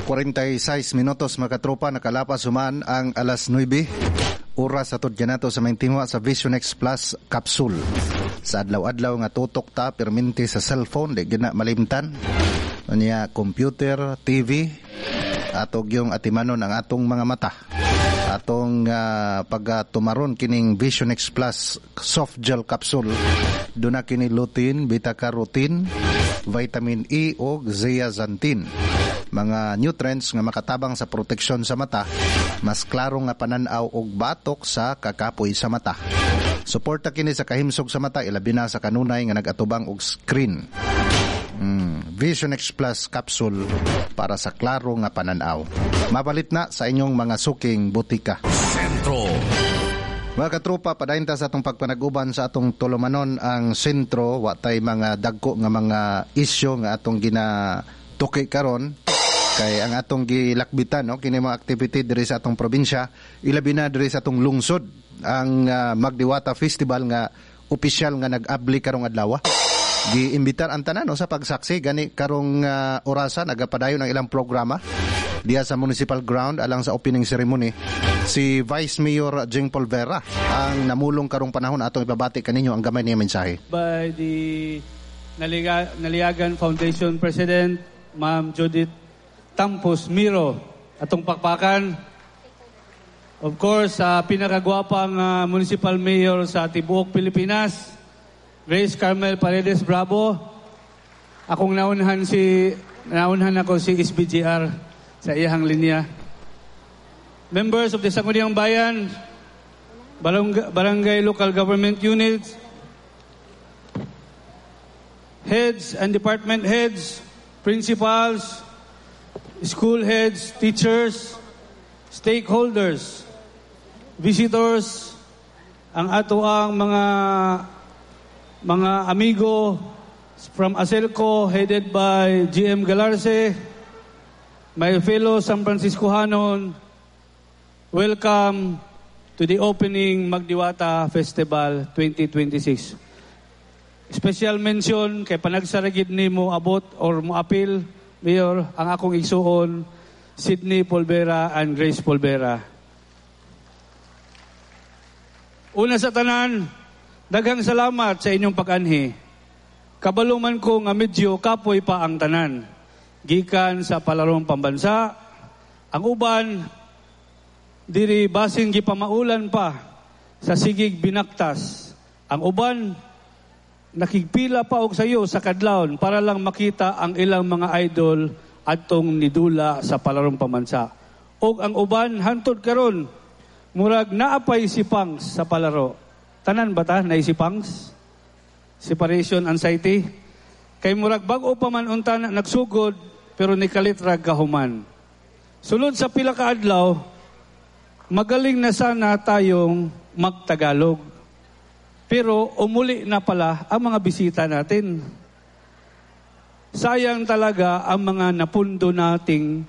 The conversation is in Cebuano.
46 minutos, mga katropa, nakalapas human ang alas 9. Oras atod kanato sa maayong tinguha sa Vision X Plus Capsule. Sa adlaw-adlaw nga tutok ta perminti sa cellphone, di gina malimtan. Unya computer, TV, atog yung atimanon ang atong mga mata. Atong pag tumaron kining Vision X Plus soft gel capsule, duna kini lutein, beta carotene, vitamin E o zeaxanthin. Mga nutrients nga makatabang sa proteksyon sa mata, mas klaro nga panan-aw og batok sa kakapoy sa mata. Suporta kini sa kahimsog sa mata, ilabi na sa kanunay nga nag-atubang og screen. Vision X Plus capsule para sa klaro nga pananaw. Mapalit na sa inyong mga suking botika. Sentro. Mga katropa, padayon ta sa atong pagpanaguban sa atong tulumanon ang sentro, wa tay mga dagko nga mga isyu nga atong ginatuki karon kay ang atong gilakbitan, no, kini mga activity diri sa atong probinsya, ilabi na diri sa atong lungsod, ang Magdiwata Festival nga opisyal nga nag-abli karong adlaw. Giimbitar ang tanan, no, sa pagsaksi gani karong orasa nagapadayon ang ilang programa diya sa municipal ground alang sa opening ceremony. Si Vice Mayor Jing Polvera ang namulong karong panahon. Atong ipabati kaninyo ang gamay niya mensahe. By the Naliagan Foundation President, Ma'am Judith Tampos Miro. Atong pakpakan. Of course, sa pinakagwapang municipal mayor sa tibuok Pilipinas, Grace Carmel Paredes Bravo. Akong naunhan ako si SBGR sa iyahang linya. Members of the Sangguniang Bayan, Barangay Local Government Units, heads and department heads, principals, school heads, teachers, stakeholders, visitors, ang ato ang mga amigo from Aselco headed by GM Galarce, my fellow San Franciscohanon, welcome to the opening Magdiwata Festival 2026. Special mention kay panagsaragid ni mo abot or mo apil, Mayor, ang akong igsuon, Sidney Polvera and Grace Polvera. Una sa tanan, daghang salamat sa inyong pag-anhi. Kabaluman ko nga medyo kapoy pa ang tanan. Gikan sa palarong pambansa, ang uban, diri basin gipamaulan pa sa sigig binaktas. Ang uban, nakigpila pa og sayo sa kadlawon para lang makita ang ilang mga idol adtong nidula sa palarong pambansa. Og ang uban hantod karon murag naapay si Pangs sa palaro. Tanan ba ta naay si Pangs? Separation anxiety. Kay murag bag-o pa man unta na nagsugod pero nikalit ra kahuman. Sulod sa pila ka adlaw, magaling na sana tayong magtagalog. Pero umuli na pala ang mga bisita natin. Sayang talaga ang mga napundo nating